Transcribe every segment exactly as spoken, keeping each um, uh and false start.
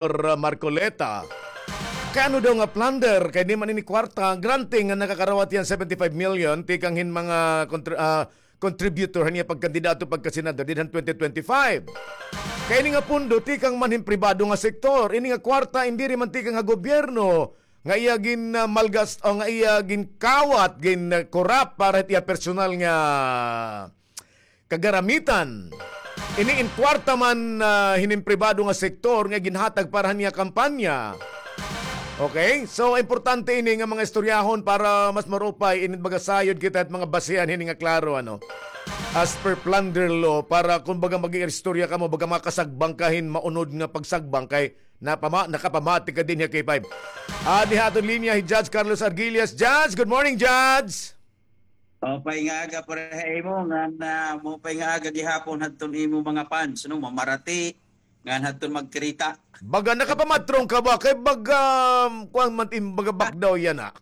Marcoleta. Kay ano daw nga plunder, kay di man ini kwarta, granting nga nakakarawat hiya hin seventy-five million, tikang hin mga kontr-, ah, contributor han iya pagkandidato pagkasenador didto han twenty twenty-five. Kay ini nga pondo, tikang man hin pribado nga sektor, ini nga kwarta, indi diri man tikang ha gobyerno, nga iya gin, ah, malgas-, o nga iya ginkawat, gin, ah, corrupt para hit iya personal nga kagaramitan. Ini in kwarta man, ah, hinin pribado nga sektor nga ginhatag para han iya kampanya. Okay? So, importante ini nga mga istoryahon para mas marupay, ini baga sayod kita hit mga basihan hini nga klaro, ano? As per plunder law, para kun baga mag-iistorya kamo, baga makasagbang ka hin maunod nga pagsagbang kay napama-, nakapamati ka dinhi ha K five. Ah, dinhi ha aton linya hi Judge Carlos Argillas. Judge, good morning, Judge! Maupay nga aga pareha ha imo, ngan, ah, maupay nga aga gihapon hadton imo mga fans, no? Mamarati, ngan hadton magkirita. Baga nakapamatron ka ba? Kay baga, um, kuwan man, im-, baga bakdaw yana.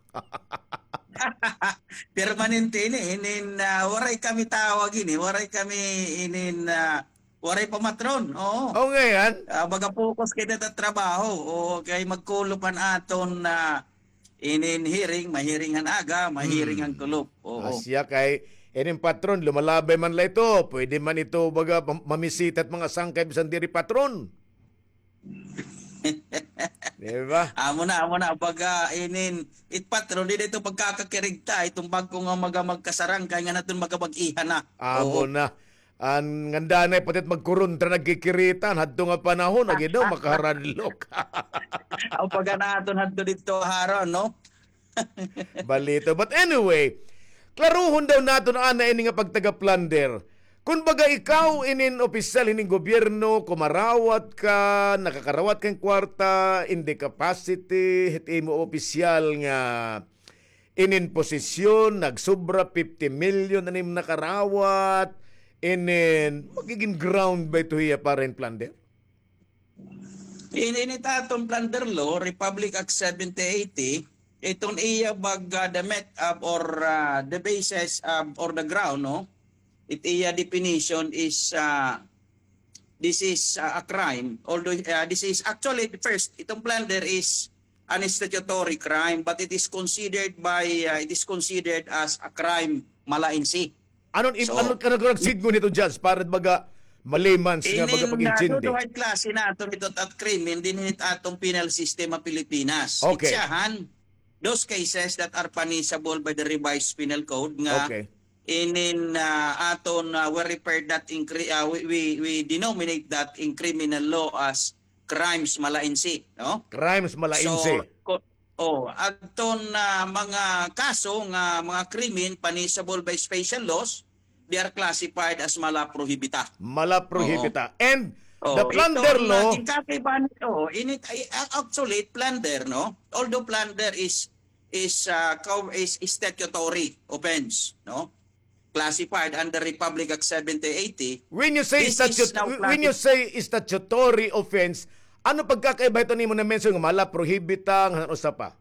Permanente ini, inin, ah, waray kami tawag ini, waray kami inin, ah, waray pamatron, oo. O, ngay-an? Ah, baga focus kita ha trabaho, o, kay magkulop an aton, ah, inin hearing, mahiring han aga, mahiring han kulop. Oo. Asya kay, inin patron, lumalabay man la ito. Pwede man ito, baga, pam-, mamisita hit mga sangkay, bisan diri patron. Di ba? Amo na, amo na. Baga, inin, it patron, diri ito pagkakakirigta, iton bag-o nga mga magkasarangkay nga naton magkabag-ihan na. Amo na. An ngandanay pati it magkurontra nagkikiritan hadto nga panahon, agi daw makaharadlok. Aw, paga naton hadto didto, Haron, no? Balito. But anyway, klaruhon daw naton ana ini nga pagtaga-plunder. Kun baga ikaw inin opisyal hinin gobyerno, kumarawat ka, nakakarawat ka hin kwarta, in the capacity, hit imo opisyal nga inin posisyon, nagsobra fifty million an imo nakarawat, inin, magigin ground ba ito hiya para hin plunder? In, in it aton plunder law, Republic Act seventy eighty, iton iya baga the met of or, ah, the basis of or the ground, no? It iya definition is, ah, this is, ah, a crime. Although, ah, this is actually, first, iton plunder is an statutory crime, but it is considered by, ah, it is considered as a crime mala in se. Ano, ano, ano ka nagsidngon hito, Judge, para baga malimans nga baga pag-intindi? Duduha it klase naton hito at krimen dinhi hit aton penal system ha Pilipinas. Okay. Itsahan, those cases that are punishable by the Revised Penal Code nga inin, ah, aton, ah, we refer that in cri-, ah, we, we, we denominate that in criminal law as crimes mala in se, no? Crimes mala in se. So, ko-, oh, adton, ah, mga kaso nga mga krimen punishable by special laws, they are classified as mala prohibita. Mala prohibita. Oo. And the plunder law, iton, ah, ginkakaibahan, oh, init, ay, ah, actually, plunder, no? Although plunder is, is, ah, cow-, is, is statutory offense, no? Classified under Republic Act seventy eighty. When you say statu-, when you say statutory offense, ano pagkakaiba hito nimo na-mention nga mala prohibita, ngan usa pa?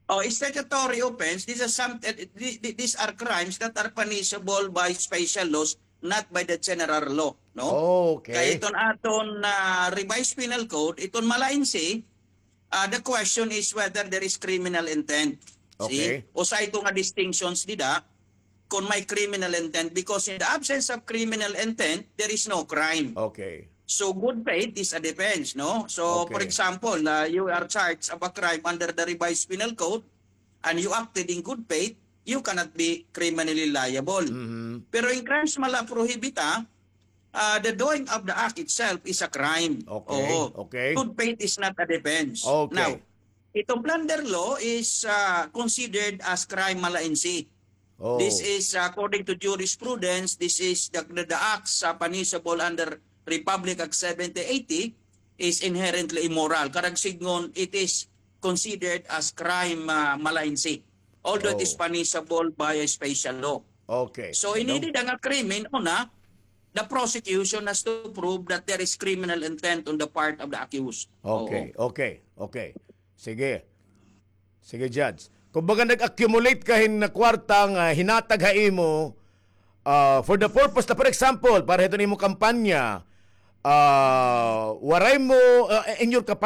Oh, statutory offense, these are some, eh, thi-, thi-, these are crimes that are punishable by special laws, not by the general law, no? Okay. Kay iton aton, ah, Revised Penal Code, iton mala in se, ah, the question is whether there is criminal intent. See? Okay. Usa ito nga distinctions dida, kon may criminal intent, because in the absence of criminal intent, there is no crime. Okay. So, good faith is a defense, no? So, for example, ah, you are charged of a crime under the Revised Penal Code, and you acted in good faith, you cannot be criminally liable. Mhm. Pero in crimes mala prohibita, ah, the doing of the act itself is a crime. Okay, okay. Good faith is not a defense. Okay. Now, itong plunder law is, ah, considered as crime mala in se. Oh. This is, ah, according to jurisprudence, this is the, the, the acts, ah, punishable under Republic Act seventy eighty is inherently immoral. Karuyag sidngon, it is considered as crime, ah, mala in se. Although it is punishable by a special law. Okay. So, ini dida nga krimen, una, the prosecution has to prove that there is criminal intent on the part of the accused. Okay, okay, okay. Sige. Sige, Judge. Kumbaga, nag-accumulate ka hin kwarta nga hinatag ha imo, ah, for the purpose na, for example, para hiton imo kampanya, ah, waray mo, ah, in your capacity